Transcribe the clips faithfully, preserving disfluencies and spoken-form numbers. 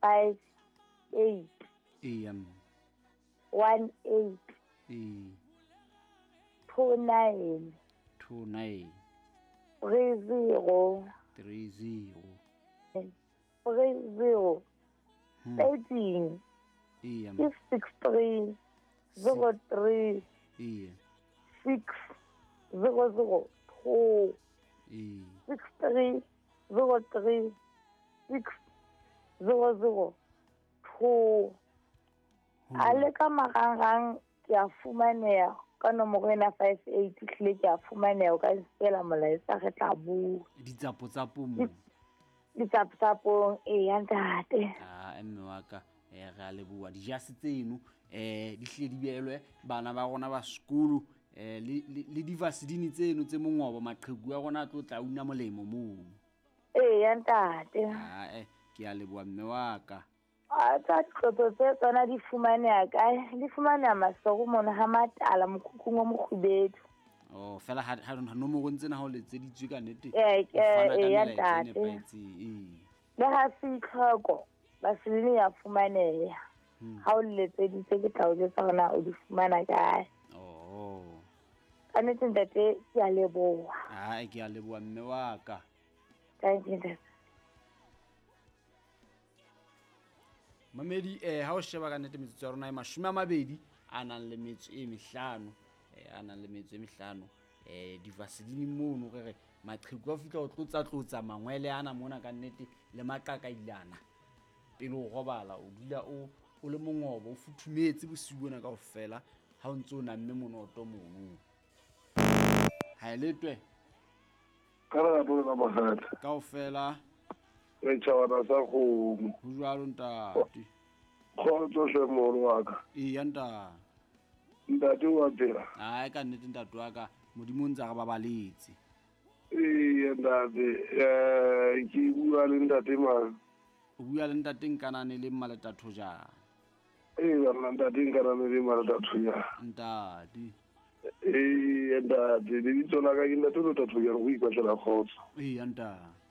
Five eight. Eya mme. One eight. Ee. Two nine. Two nine. Three zero. Three zero. Three zero. Hmm. Thirteen. Eya mme. Ke six three zero three. Eya. Six zero zero two. Ee. Six three zero three six zero zero two. A le ka marangrang ke a fumaneha ka nomoro ena five eight hlile ke a fumaneha, o ka nsiela molaetsa re tla bua. Ditsapotsapo mo. Ditsapotsapong, eya ntate. Ah, mme wa ka, eh re a leboha. Dijase tseno eh di hlile di beelwe bana ba rona ba sekolo, eh le le di-vaseline tseno tse mongobo, maqheku a rona a tlo tla una molemo moo. Eya ntate. Ah, eh ke a leboha mme wa ka. A tsa tlotso tse tsona di fumaneha kae? Di fumaneha Maseru mona ha Matala mokhukhung o mokgubedu. Oh, fela ha ha nomorong tsena ha o letseditswe ka nnete. Eh, o fana ka eh, melaetsa e ntate. nepahetseng, ee. Le ha se itlhoko, vaseline ya fumaneha. Hmm. Ha o letseditse ke tla o jwetsa hore na o di fumana kae. Oh. Ka nnete ntate, ke a leboha. Ah, ke a leboha mme wa ka. Thank you, ntate. Mamedi, eh ha o sheba ka nnete metsotso ya rona e mashome a mabedi a nang le metso e mehlano, eh a nang le metso e mehlano, eh di-vaseline mono re re maqheku a fihla ho tlotsa tlotsa mangwele ana mona ka nnete le maqakailana pele o robala, o dula o o le mongobo, o futhumetse bosiu bona kaofela ha o ntse o namme monoto mono. Ha e letwe ka lerato la makgetha kaofela. Re tjhabana sa kgomo. Ho jwalo ntate. Kgotso hle moholo wa ka. Eya ntate. Ntate wa phela? Ai ka nnete ntate wa ka, Modimo o ntse a re babaletse. Eya ntate, eh ke bua le ntate mang? O bua le ntate Nkanane le Mmaleta Thojana. Eya nna ntate Nkanane le Mmaleta Thojana. Ntate. Eya ntate, lebitso la ka ke ntate Lota Thojana, go ipatlela kgotso. Eya ntate.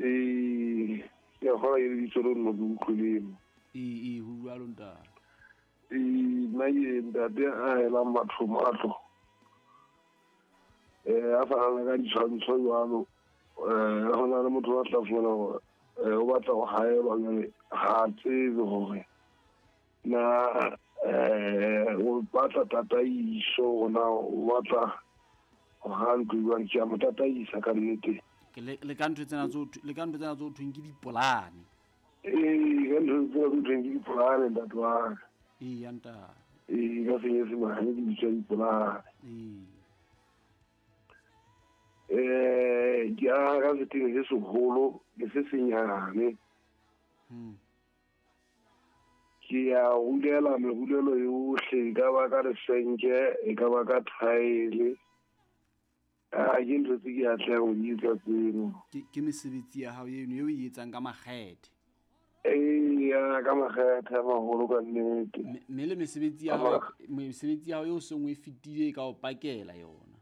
Ee, ke a kgolwa ke lebitso leo nna ke utlwileng. Ee, ee, ho jwalo ntate. Ee, nna ke ntate a helang batho matlo. Eh, a fanang ka ditshwantsho jwalo. Eh, ho na le motho a tla fumana hore, eh, o batla ho haelwa jwale, ha a tsebe hore na, eh, o batla tataiso, hore na o batla ho ha ntlo jwang. Ke a mo tataisa ka nnete. Ke le, le ka ntho tsena tse le ka ntho tsena tse ho thweng ke dipolane. Ee, ka ntho tsena tse ho thweng ke dipolane ntate wa ka. Eya ntate. Ee, ka senyesemane di bitswa dipolane. Ee. Eh, ke aha ka setene se seholo le se senyane. Hmm. Ke a rulela merulelo yohle, e ka ba ka lesenke, e ka ba ka thaele. Ah, ke ntho tse ke atlehang ho di etsa tseno. Ke, ke mesebetsi ya hao eno eo o e etsang ka makgethe. Eya, ka makgethe a maholo ka nnete. Mme, mme le mesebetsi ya hao, mesebetsi ya hao eo seng o e fetile e ka o pakela yona.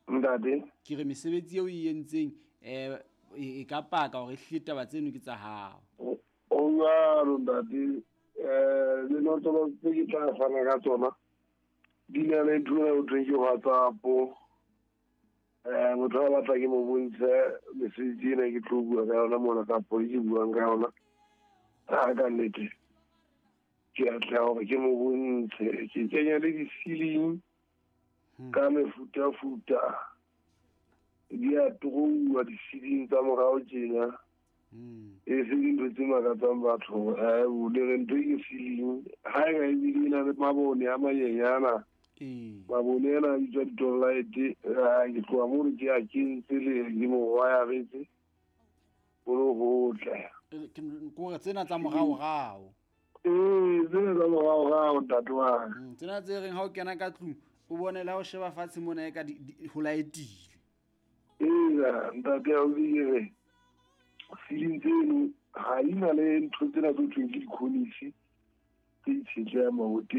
Ntate? Ke re mesebetsi eo o e entseng, eh, e, e ka paka hore ehlile taba tseno ke tsa hao. O jwalo ntate, eh, dinotlolo tse ke tla fana ka tsona di na le ntho ena ho thweng ke WhatsApp. Eh, motho a batla ke mo bontshe mesebetsi ena ke tlo bua ka yona mona kapo e ke buang ka yona. Ah, ka nnete ke atleha hore ke mo bontshe. Ke kenya le di-ceiling Hmm. ka mefutafuta, di a trouwa di-ceiling tsa morao tjena. Hmm. E se dintho tse makatsang batho. Eh, o le re ntho e ke ceiling ha e ka ebile e na le mabone a manyenyana. Ee. Mabone ana a bitswa di-light. Ah, ke tloha mono ke a kentse le ke mo wire-etse ho le hotle. Ke kore tsena tsa moraorao. Ee, tsena tsa moraorao ntate wa ka. Mm, tsena tse reng ha o kena ka tlung o bone le ha o sheba fatshe mona e ka di, di, ho laetile. Eya, ntate a o ke re ceiling tseno ha di na le ntho tsena tse ho thweng ke di-cornice tse itshetlehang maboteng.